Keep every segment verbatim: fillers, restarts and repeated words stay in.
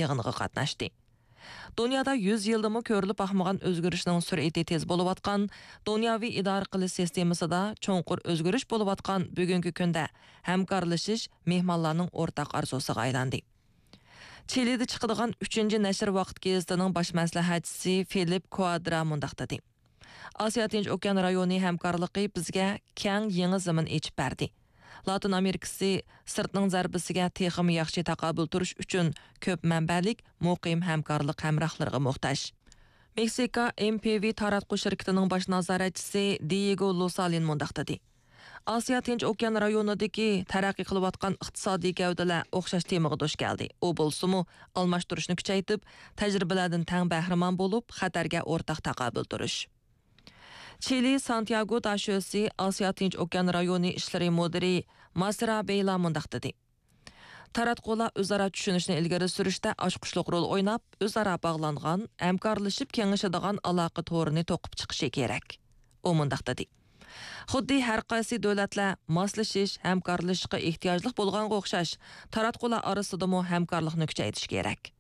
يىغىنغا قاتناشتى. دۇنيادا يۈز يىلدىمۇ كۆرۈلۈپ باقمىغان ئۆزگىرىشنىڭ سۈرئىتى تېز بولۇۋاتقان، دۇنياۋى ئىدارە قىلىش سىستېمىسىدا چوڭقۇر ئۆزگىرىش بولۇۋاتقان بۈگۈنكى كۈندە ھەمكارلىشىش مېھمانلارنىڭ ئورتاق ئارزۇسىغا ئايلاندى. چىلىدە چىقىدىغان ئۈچىنچى نەشر ۋاقىت گېزىتىنىڭ باش مەسلىھەتچىسى فىلىپ كۇادرا مۇنداق دېدى: ئاسىيا تىنچ ئوكيان رايونى ھەمكارلىقى بىزگە كەڭ يېڭى زېمىن ئېچىپ بەردى. لاتىن ئامېرىكىسى سىرتنىڭ زەربىسىگە تېخىمۇ ياخشى تاقابىل تۇرۇش ئۈچۈن كۆپ مەنبەلىك، مۇقىم ھەمكارلىق ھەمراھلىرىغا موھتاج. مېكسىكا ئېم پى ۋى تاراتقۇ شىركىتىنىڭ باش نازارەتچىسى دىيېگو لۇسالىن مۇنداق دېدى: ئاسىيا تىنچ ئوكيان رايونىدىكى تەرەققىي قىلىۋاتقان ئىقتىسادىي گەۋدىلەر ئوخشاش تېمىغا دۇچ كەلدى. ئۇ بولسىمۇ، ئالماشتۇرۇشنى كۈچەيتىپ، تەجرىبىلەردىن تەڭ بەھرىمەن بولۇپ، خەتەرگە ئورتاق تاقابىل تۇرۇش. چىلى سانتياگو داشۆسى ئاسىيا تىنچ ئوكيان رايونى ئىشلىرى مۇدىرى ماسرا بېيلا مۇنداق دېدى: تاراتقۇلار ئۆزئارا چۈشىنىشنى ئىلگىرى سۈرۈشتە ئاچقۇچلۇق رول ئويناپ، ئۆزئارا باغلانغان، ھەمكارلىشىپ كېڭىشىدىغان ئالاقە تورىنى توقۇپ چىقىشى كېرەك. ئۇ مۇنداق دېدى: خۇددى ھەر قايسى دۆلەتلەر ماسلىشىش، ھەمكارلىشىشقا ئېھتىياجلىق بولغانغا ئوخشاش، تاراتقۇلار ئارىسىدىمۇ ھەمكارلىقنى كۈچەيتىش كېرەك.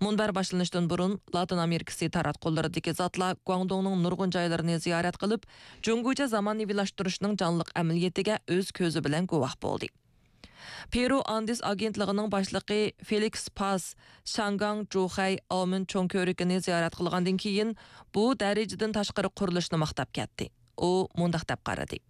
مۇنبەر باشلىنىشتىن بۇرۇن، لاتىن ئامېرىكىسى تاراتقۇلىرىدىكى زاتلار گۇاڭدۇڭنىڭ نۇرغۇن جايلىرىنى زىيارەت قىلىپ، جۇڭگوچە زامانىۋىلاشتۇرۇشنىڭ جانلىق ئەمەلىيىتىگە ئۆز كۆزى بىلەن گۇۋاھ بولدى. پېرۇ ئاندېس ئاگېنتلىقىنىڭ باشلىقى فېلىكس پاس شاڭگاڭ، جۇخەي، ئاۋمېن چوڭ كۆۋرۈكىنى زىيارەت قىلغاندىن كېيىن، بۇ دەرىجىدىن تاشقىرى قۇرۇلۇشنى ماختاپ كەتتى. ئۇ مۇنداق دەپ قارىدى: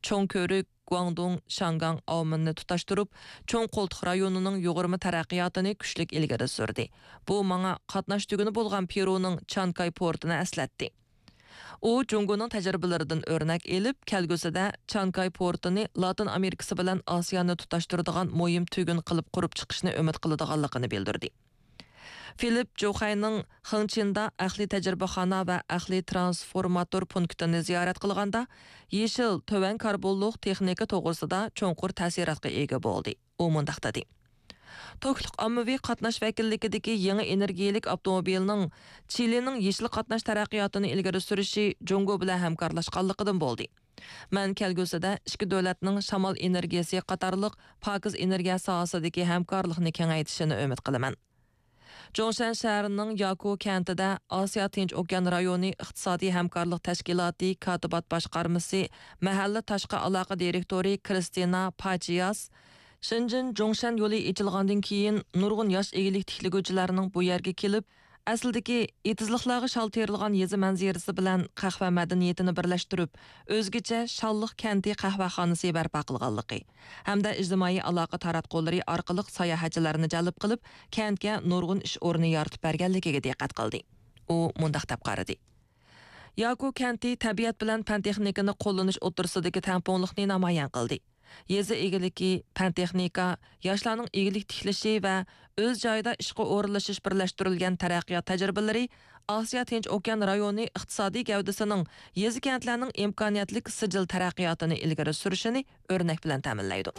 چوڭ كۆۋرۈك، گۇاڭدۇڭ، شاڭگاڭ، ئاۋمېننى تۇتاشتۇرۇپ، چوڭ قولتۇق رايونىنىڭ يۇغۇرما تەرەققىياتىنى كۈچلۈك ئىلگىرى سۈردى. بۇ ماڭا قاتناش تۈگۈنى بولغان پېرۇنىڭ چانكاي پورتىنى ئەسلەتتى. ئۇ جۇڭگونىڭ تەجرىبىلىرىدىن ئۆرنەك ئېلىپ، كەلگۈسىدە چانكاي پورتىنى لاتىن ئامېرىكىسى بىلەن ئاسىيانى تۇتاشتۇرىدىغان مۇھىم تۈگۈن قىلىپ قۇرۇپ چىقىشنى ئۈمىد قىلىدىغانلىقىنى بىلدۈردى. فىلىپ جۇخەينىڭ خېڭچىندا ئەقلىي تەجرىبىخانا ۋە ئەقلىي ترانسفورماتور پونكىتىنى زىيارەت قىلغاندا، يېشىل، تۆۋەن كاربونلۇق تېخنىكا توغرىسىدا چوڭقۇر تەسىراتقا ئىگە بولدى. ئۇ مۇنداق دېدى: توكلۇق ئاممىۋى قاتناش ۋەكىللىكىدىكى يېڭى ئېنېرگىيەلىك ئاپتوموبىلنىڭ چىلىنىڭ يېشىل قاتناش تەرەققىياتىنى ئىلگىرى سۈرۈشى جۇڭگو بىلەن ھەمكارلاشقانلىقىدىن بولدى. مەن كەلگۈسىدە ئىككى دۆلەتنىڭ شامال ئېنېرگىيەسى قاتارلىق پاكىز ئېنېرگىيە ساھەسىدىكى ھەمكارلىقنى كېڭەيتىشىنى ئۈمىد قىلىمەن. جۇڭشەن شەھىرىنىڭ ياكۇ كەنتىدە ئاسىيا تىنچ ئوكيان رايونى ئىقتىسادىي ھەمكارلىق تەشكىلاتى كاتىبات باشقارمىسى مەھەللە تاشقى ئالاقە دىرېكتورى كرىستىنا پاچىياس، شېنجېن جۇڭشەن يولى ئېچىلغاندىن كېيىن، نۇرغۇن ياش ئىگىلىك تىكلىگۈچىلەرنىڭ بۇ يەرگە كېلىپ، ئەسلىدىكى ئېتىزلىقلارغا شال تېرىلغان يېزا مەنزىرىسى بىلەن قەھۋە مەدەنىيىتىنى بىرلەشتۈرۈپ، ئۆزگىچە شاللىق كەنتى قەھۋەخانىسى بەرپا قىلغانلىقى ھەمدە ئىجتىمائىي ئالاقە تاراتقۇلىرى ئارقىلىق ساياھەتچىلەرنى جەلپ قىلىپ، كەنتكە نۇرغۇن ئىش ئورنى يارىتىپ بەرگەنلىكىگە دىققەت قىلدى. ئۇ مۇنداق دەپ قارىدى: ياكۇ كەنتى تەبىئەت بىلەن پەن تېخنىكىنى قوللىنىش ئوتتۇرىسىدىكى تەڭپۇڭلۇقنى نامايان قىلدى. يېزا ئىگىلىكى، پەن تېخنىكا، ياشلارنىڭ ئىگىلىك تىكلىشى ۋە ئۆز جايىدا ئىشقا ئورۇنلىشىش بىرلەشتۈرۈلگەن تەرەققىيات تەجرىبىلىرى ئاسىيا تىنچ ئوكيان رايونى ئىقتىسادىي گەۋدىسىنىڭ يېزا كەنتلەرنىڭ ئىمكانىيەتلىك سىجىل تەرەققىياتىنى ئىلگىرى سۈرۈشىنى ئۆرنەك بىلەن تەمىنلەيدۇ.